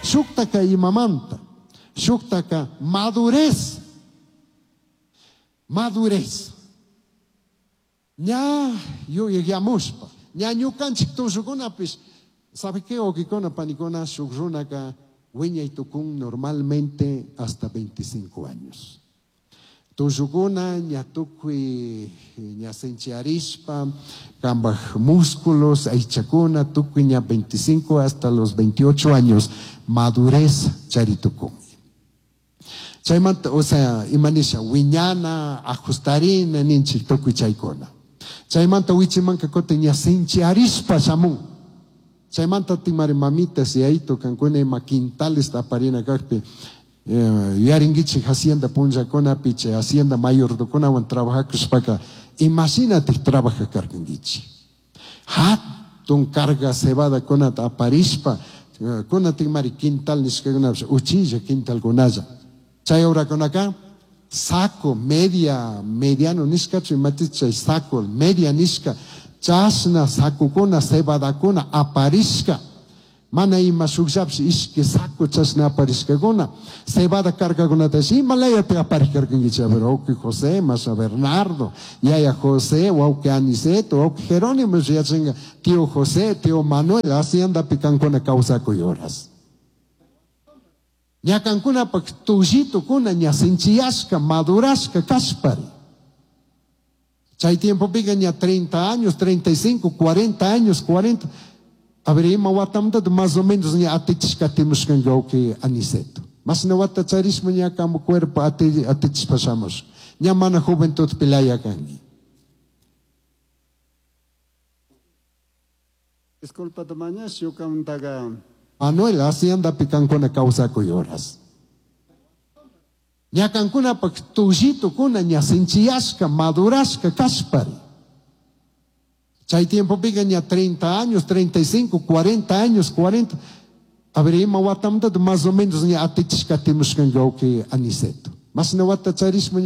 Shuktaka imamanta, shuktaka madurez. Madurez. Ña yuyayamushpa, ña ñukanchik tullukunapish, ¿sabe qué, wawkikuna, panikuna? Shuk runaka wiñay tukun normalmente hasta 25 años. Tullukuna ña tukuy ña sinchiyarishpa, kambaj músculos, aychakuna, tukuy ña 25 hasta los 28 años, madurez chari tukun. Chaymanta, o sea, imanisha, wiñana, ajustarina, ninchik tukuy chaykuna. Chaymanta wichimanka kutin ña sinchiyarishpa shamun. Chaymanta timari mamitas yayito kankuna ima quintales aparina kakpi, yuyarinkichik hacienda punllakunapi, chay hacienda mayordokunawan trabajakushpaka, imashinatik trabaja karkankichik. Hatun carga cebadakunata aparishpa, kunatikmari quintal nishkakunapish, uchilla quintalkunalla. Chay horakunaka saco media, mediano nishkachu imatish chay saco media nishka, chashna sacokuna, cebadakuna aparishka. Mana ima shukllapish ishki saco chashna aparishkakuna. Cebada cargakunatash ima layata aparishkarkankichik? A ver, wawki José, Masha Bernardo, yaya José, wawki Aniceto, wawki Jerónimo yachanka, tío José, tío Manuel, haciendapi kankuna kawsakuy horas. Ña kankunapak tullitukuna ña sinchiyashka, madurashka kashpari. Chay tiempopika ña 30 años, 35, 40 años, 40. A ver, ima watamantata más o menos ña atichishka atimushkanki wawki Aniceto. Mashna wata charishpa ña kambu cuerpo atichishpa shamush. Ña mana juventud pilaya kanki. Disculpa mañash ñukamantaqa. Manuel, haciendapi kankuna kawsakuy horas. Ña kankunapak tullitukuna ña sinchiyashka, madurashka kashpari. Chay tiempopika ña 30 años, 35, 40 años, 40. A ver, ima watamantata más o menos ña atichishka atimushkanki wawki Aniceto. Mashna wata charishpa.